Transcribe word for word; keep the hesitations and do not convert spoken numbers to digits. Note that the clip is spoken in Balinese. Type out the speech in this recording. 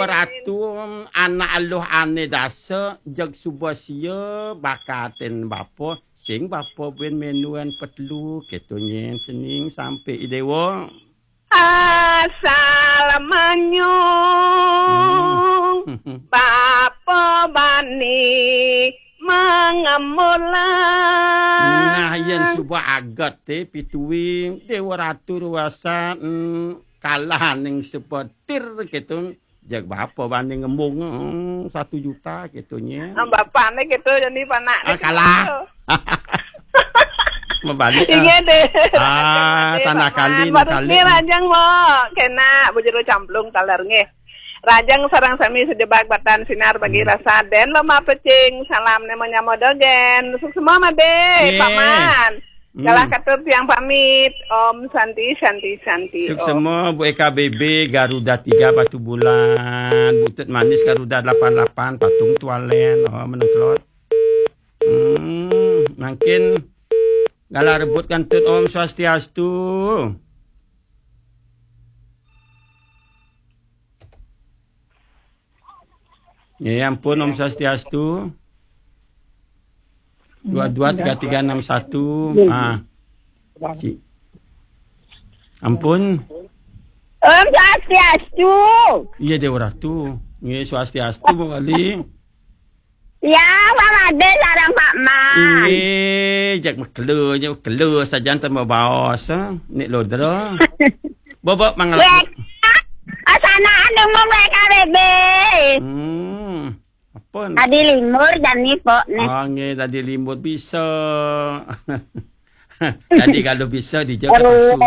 Ratu, anak aluh ane dasa, jeg suba sia bakatin bapa, sing bapa buin menuen petelu, keto nyen cening sampe i dewa. Asal manyung, hmm, bapa bani mangamula. Nah, yen suba aget te pitui, Dewa Ratu ruasan, hmm, kalah ning sepetir keto. Jeg bapa bani ngembung, hmm, satu juta keto nye. Ah, bapa ne keto jani panak ne. Ah, kalah. Mebalik, ah. Inggih deh. Ah, tanah kali, baru kali. Nggih, rajang mo. Kena bujuru camplung taler nggih. Rajang sareng sami sedebak batan sinar bagi rasa den loma pecing. Salam ne menyamo dogen. Suksma made, nggih. Paman. Hmm. Galah katur tiang pamit. Om Santi, Santi, Santi, Om. Suksma, Bu Eka B B, Garuda tiga Batu Bulan, Butut Manis Garuda delapan lapan, Patung Tualen, oh, menengklot. Hmm, mangkin galah rebut kantun Om Swastiastu. Ya, ampun, Om Swastiastu. Dua dua tiga tiga enam satu. Ah. Si. Ampun. Om Swastiastu. Iya, Dewa Ratu. Nggih, Swastiastu, Bu Wali. Ya, Pak Made sareng Pak Man. Nggih, jak mekelu, jak mekelu sajan tambah baos, eh. Nik Lodra. Bobok mangala. Wek. Asana anu mung W K B B. Hmm. Apa? Tadi limur jani pok nih. Oh, nggih, tadi limur bisa. Tadi kalau bisa dijawab langsung.